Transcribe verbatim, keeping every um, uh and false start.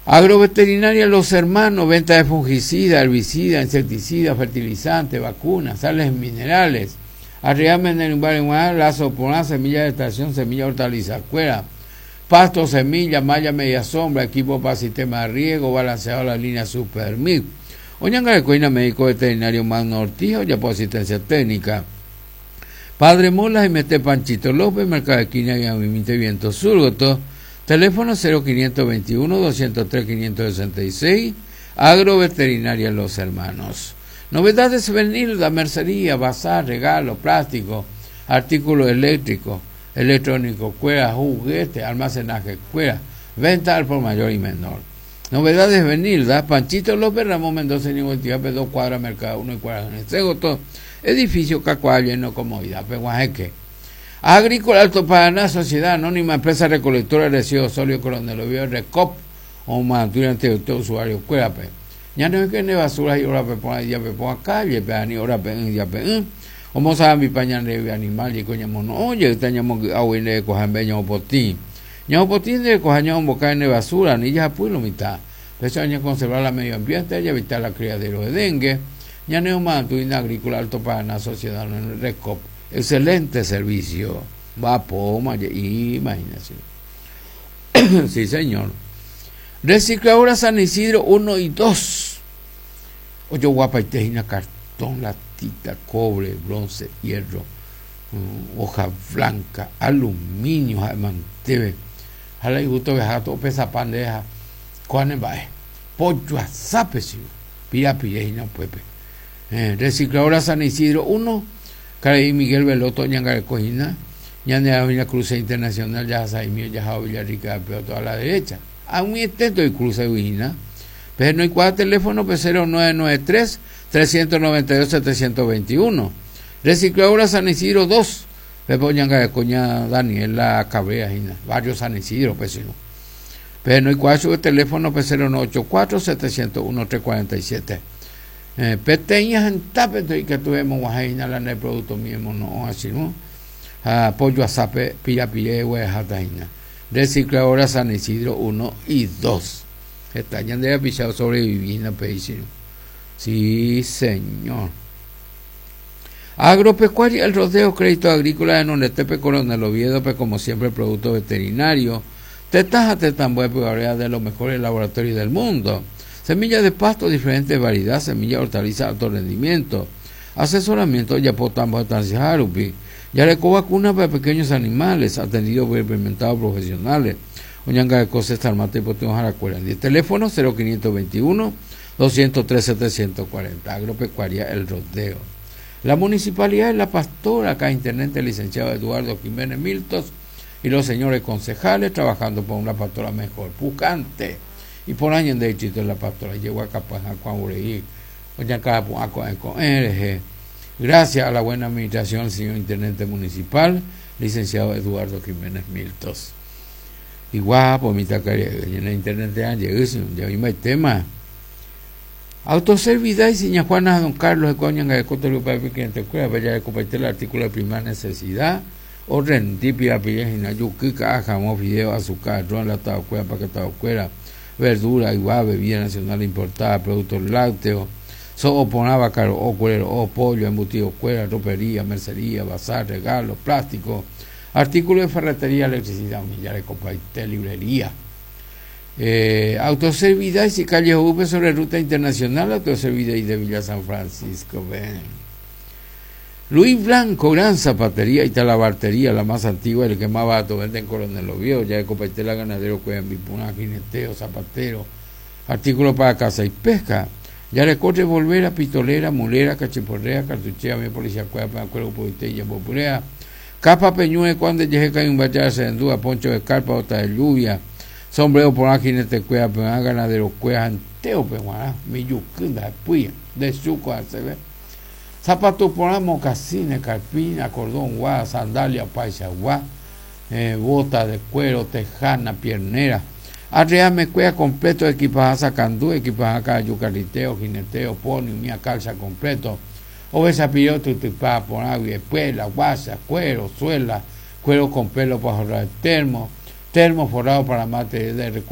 Agroveterinaria Los Hermanos, venta de fungicida, herbicida, insecticida, fertilizante, vacunas, sales minerales. Arriame lazo por semilla de estación, semilla hortaliza, cuera, pasto, semilla, malla, media sombra, equipo para sistema de riego, balanceado la línea Super Mix. Oñanga médico veterinario Magno Ortiz, ya por asistencia técnica. Padre Molas y Mete Panchito López, Mercado de Esquina y Amimite Viento Sur, teléfono cero quinientos veintiuno, doscientos tres, quinientos sesenta y seis, Agroveterinaria Los Hermanos. Novedades Benilda, mercería, bazar, regalo, plástico, artículos eléctricos, electrónico, cuera, juguete, almacenaje, cuera, venta al por mayor y menor. Novedades Benilda, Panchito López, Ramón Mendoza, Niguantiape, dos cuadras, Mercado uno y cuadras en el Cegoto, edificio Cacuá, lleno comodidad, Peguajeque. Agrícola Alto Paraná, Sociedad Anónima, Empresa Recolectora de Residuos Sólidos, Coronel Oviedo, Recop, o Mantura, ante usted, usuario, cuérape. Ya no es que ne basura y ahora pe pon ya pe pon calle, pe ani ahora pe ya pe. Como saben mi pañal de animal y coña mono, oye, estañamos agua y le cojan beño potín. Ño potín de cojaño boca en basura, ni ya pues lo mitad. Pero año conservar la medio ambiente y evitar la criadero de dengue. Ya no es una agrícola Alto Paraná, Sociedad en Recop. Excelente servicio. Va poma, imagínese. Sí, señor. Recicladora San Isidro uno y dos. Ocho guapa y tejina, cartón, latita, cobre, bronce, hierro, mm, hoja blanca, aluminio, manteve. Jala y gusto viajar todo pesa pan deja. Cuán va, pollo a sape, si. Pira, pira y no puede. Eh, Recicladora San Isidro uno, Caraí Miguel Veloto, Ñangarecojina, Ñandeavina Cruce Internacional, ya Saimio, ya Villarrica, pero toda la derecha. A un intento de cruce Vigina, pero no hay cuatro teléfono, pues cero nueve nueve tres, trescientos noventa y dos, setecientos veintiuno. Recicladora San Isidro dos, Pepo Ñanga de Coña Daniela Cabrera, Gina, barrio San Isidro, pues si no. Pero no hay cuatro teléfono, pues cero nueve ocho cuatro, setecientos uno, trescientos cuarenta y siete. Eh, peteñas en tapete y que tuvimos guajina, la de producto mismo, no, así no. Ah, pollo a sape, pira pire, hueja, tajina. Recicladora San Isidro uno y dos. Está ya de pichado sobreviviendo, pedísimo. Sí, señor. Agropecuaria El Rodeo, Crédito Agrícola de Nonetepe, Coronel Oviedo, pues como siempre, producto veterinario. Tetaja, tetambué, pues, de los mejores laboratorios del mundo. Semillas de pasto, diferentes variedades, semillas, hortalizas, alto rendimiento. Asesoramiento, Yapotambo, Tancijarupi. Yareco vacuna para pequeños animales, atendido por experimentados profesionales. Oñanga de Cosas, Tarmate y Potón Jaracuera. El teléfono cero quinientos veintiuno, doscientos tres, setecientos cuarenta. Agropecuaria El Rodeo. La Municipalidad de La Pastora, acá intendente licenciado Eduardo Jiménez Miltos y los señores concejales trabajando por una pastora mejor. Pucante. Y por año de distrito de La Pastora. Llegó a Capaz, a Cuaureí, Oñanga, a Cuaureí, R G. Gracias a la buena administración del señor intendente municipal, licenciado Eduardo Jiménez Miltos. Y guapo, mi tacaría, en el intendente Ángel, ya mismo hay tema. Autoservidad y seña Juana Don Carlos de Coña, de Coto Lupa, de Cliente Cueva, Bella de Copaite, el artículo de primera necesidad, o rendipia, pillejina, yuquica, jamón, fideo, azúcar, ron, latado, cueva, paquetado, cuera, verdura, igual, bebida nacional importada, productos lácteos, so oponaba caro, o cuero, o pollo, embutido, cuera, ropería, mercería, bazar, regalo, plástico, artículos de ferretería, electricidad, millares, copaite, librería. Eh, autoservidad y calle Upe sobre ruta internacional, autoservidad y de Villa San Francisco. Ven. Luis Blanco, gran zapatería y talabartería, la más antigua, el que más barato vende en Coronel Oviedo, ya de Copaitela, ganadero, cueva, bipuna, jineteo, zapatero, artículos para caza y pesca. Ya le corre volver a pistolera, mulera, cachiporrea, cartuchera, mi policía, cueva, para cuerpo, poitella, popurea, capa, peñue, cuando llegue cae un bachar, se endúa, poncho de carpa, bota de lluvia, sombrero por aquí, jinete, cueva, peña, ganadero, cueva, anteo, peña, miyucunda, puya, de suco, se ve. Zapatos por ahí, mocasines, carpina, cordón, guá, sandalia, paisa, guá, eh, bota de cuero, tejana, piernera. Arreame cueva completo, equipaje sacandú, equipaje yucariteo, jineteo, pony, mía calza completo. Obesa piloto, tutupa, por agua, espuela, guasa, cuero, suela, cuero con pelo para forrar el termo, termo forrado para mate de recuerdo.